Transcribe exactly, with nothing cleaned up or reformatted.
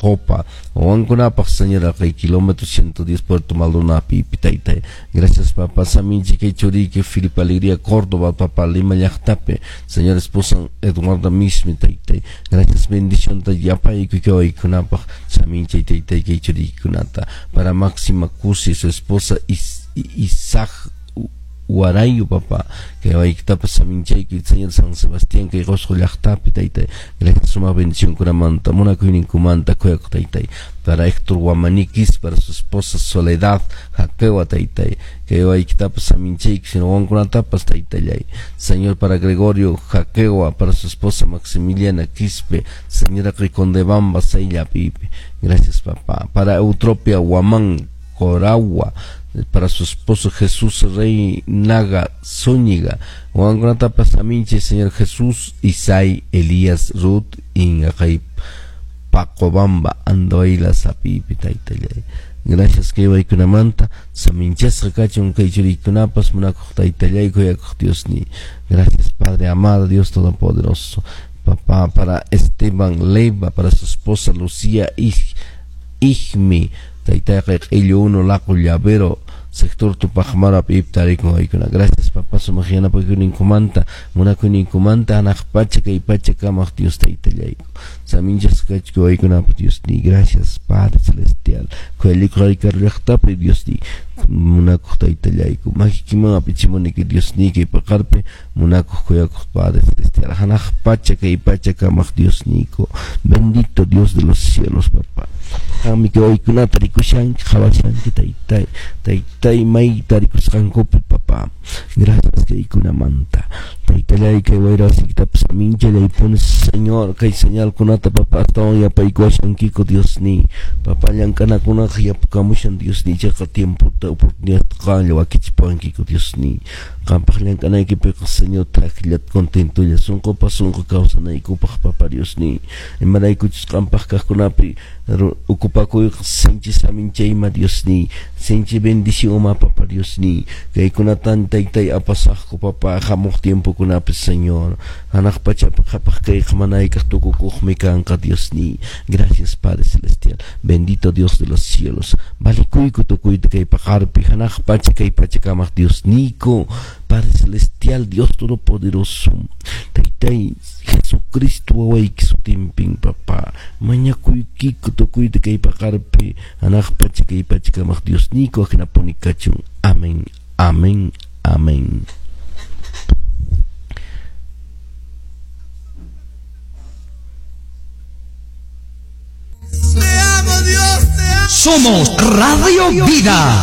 Jopa, wawankunapaq Señor kay kilómetro ciento diez Puerto Maldonado pipi taytay. Gracias papá, saminchi kay churiki Felipe Alegría Córdoba, papá Lima llaqtapi, Señor esposa Eduardo mismi taytay. Gracias bendición ta yapaykuy kay waykunapaq saminchi taytay kay churikikunata. Para Máxima Cusi, su esposa Is Isaac Huarayo, papá, que waykitapas saminchaykuy Señor San Sebastián kay Qusqu llaqtapi taytay. Gracias suma bendición kunamanta, munakuyninkumanta kuyakuq taytay. Para Héctor Guamaniquis, para su esposa Soledad Jaquewa taytay, kay waykitapas saminchaykuy sino wawankunatapas taytallay. Señor, para Gregorio Jaquewa, para su esposa Maximiliana Quispe, señora Condebamba Saylla pipi. Gracias papá. Para Eutropia Guamán Coragua, para su esposo Jesús Rey Naga Zúñiga, wawankunatapas saminche Señor Jesús Isai Elías Ruth Ingajay Pacobamba Andoila Sapipi taytallay. Gracias kay waykunamanta saminchasqa kachun kay churikunapas munakuq taytallay kuyakuq Diosni. Gracias Padre amado, Dios todopoderoso. Papá, para Esteban Leiva, para su esposa Lucía Ijmi, taytayqa q'illu uno laqu llavero sector Tupaq Amaru iptarikun waykuna. Gracias papá, sumaq yanapakuyninkumanta munakuyninkumanta hanaq pacha kay pacha kamaq Dios taytallayku. Saminchasqa kachku waykunapaq Diosni. Gracias Padre celestial. Kuyalikuq karu llaqtapi Diosni munakuq taytallayku. Makikiman apichimuniki Diosni kay paqarpi munakuq kuyakuq Padre celestial. Hanaq pacha kay pacha kamaq Diosniyku. Bendito Dios de los cielos, papá. Qanmi kay waykunata rikushanki qhawashanki taytay taytay mayta rikusqankupi papá. Gracias kaykunamanta taytallay kay wayrawasikitapas saminchalaypuni Señor kay señalkunata papá astawan yapaykuwashankiku Diosni. Papá llank'anakunaqa yapukamushan Diosni, ichaqa tiempota oportunidad qanlla wakichipuwankiku Diosni. Qampaq llank'anaykipiqa Señor thakllata contentolla sunqupas sunqu kawsanaykupaq papá Diosni. Imaraykuchus qampaq kaqkunapi ukupakuyqa sinchi saminchayma Diosni, sinchi bendición papá Diosni. Kaykunatan taytay apasaqku papá hamuq tiempokunapi Señor. Hanaq pachapi qhapaq kayqa manaykaq tukukuqmi kanqa Diosni. Gracias Padre celestial, bendito Dios de los cielos. Valikuyku tukuyta kay paqarpi hanaq pacha kay pacha kamaq Diosniyku. Padre celestial, Dios todopoderoso, taytay Jesucristo wawayki sutinpin papá mañakuykiku tukuyta kay paqarpi hanaq pacha kay pacha kamaq Diosniyku ajinapuni kachun. Amén, amén, amén. Te amo, Dios, te amo. Somos Radio Vida.